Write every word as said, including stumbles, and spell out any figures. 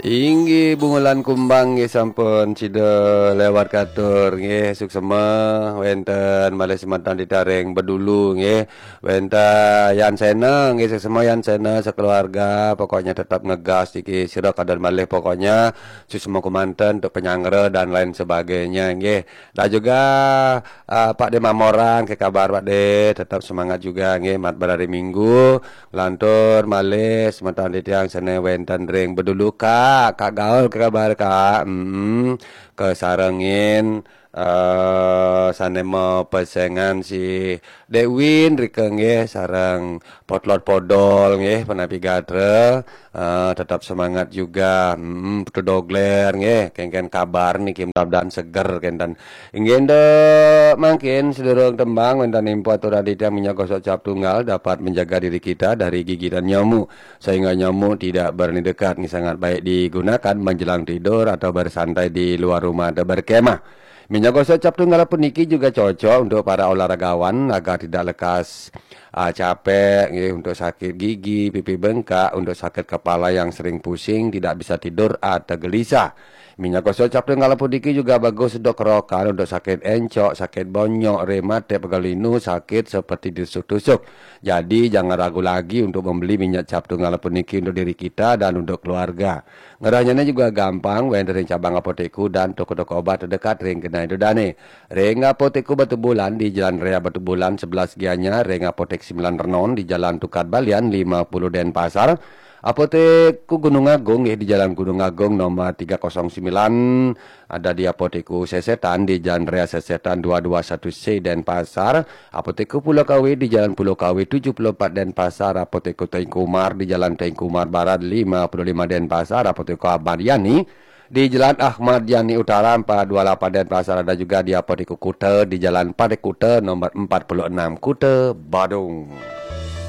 Inggih, bungulan kumbang nggih sampun sida lewat katur nggih, suksema wenten malih semeton titiang ring Bedulu nggih. Wenten Yan Sena nggih, suksema Yan Sena sekeluarga, pokoknya tetap ngegas niki sira kadang malih pokoknya suksema kemanten untuk penyanggra dan lain sebagainya nggih. Dan juga ah, Pak De Mamoran, ke kabar Pak De, tetap semangat juga nggih, mat berari Minggu. Lantur malih semeton titiang sane wenten ring Bedulu, Kak. Kak Gaul, ke kabar Kak? Hmm, kesarengin eh sane mapesengan si Dek Win rika nggih, sareng Potlot Podol nggih, penapi gatra. Eh, tetap semangat juga. Hmm, Putu Dogler nggih, kengken kabar niki mudah-mudahan seger kenten. Inggih, ndak mangkin sedurung tembang wenten info atur aditya minyak gosok cap tunggal dapat menjaga diri kita dari gigitan nyamuk, sehingga nyamuk tidak berani dekat. Ini sangat baik digunakan menjelang tidur atau bersantai di luar rumah atau berkemah. Minyak gosok cap tunggal puniki juga cocok untuk para olahragawan agar tidak lekas ah, capek nggih, untuk sakit gigi, pipi bengkak, untuk sakit kepala yang sering pusing, tidak bisa tidur atau gelisah. Minyak gosok cap tunggal puniki juga bagus untuk kerokan, untuk sakit encok, sakit bonyok, rematik, pegal linu, sakit seperti ditusuk-tusuk. Jadi jangan ragu lagi untuk membeli minyak cap tunggal puniki untuk diri kita dan untuk keluarga. Ngerahnyane juga gampang, wenten ring cabang apotekku dan toko-toko obat terdekat ring genah ida dane. Ring Apotekku Batubulan di Jalan Raya Batubulan sebelas Gianyar, ring Apotek Sembilan Renon di Jalan Tukad Balian lima puluh Denpasar. Apotekku Gunung Agung nggih di Jalan Gunung Agung nomor tiga kosong sembilan, ada di Apotekku Sesetan di Jalan Raya Sesetan dua dua satu C Denpasar, Apotekku Pulau Kawe di Jalan Pulau Kawe tujuh puluh empat Denpasar, Apotekku Teuku Umar di Jalan Teuku Umar Barat lima puluh lima Denpasar, Apotekku Ahmad Yani di Jalan Ahmad Yani Utara empat dua lapan Denpasar, ada juga di Apotekku Kuta di Jalan Parit Kuta nomor empat puluh enam Kuta, Badung.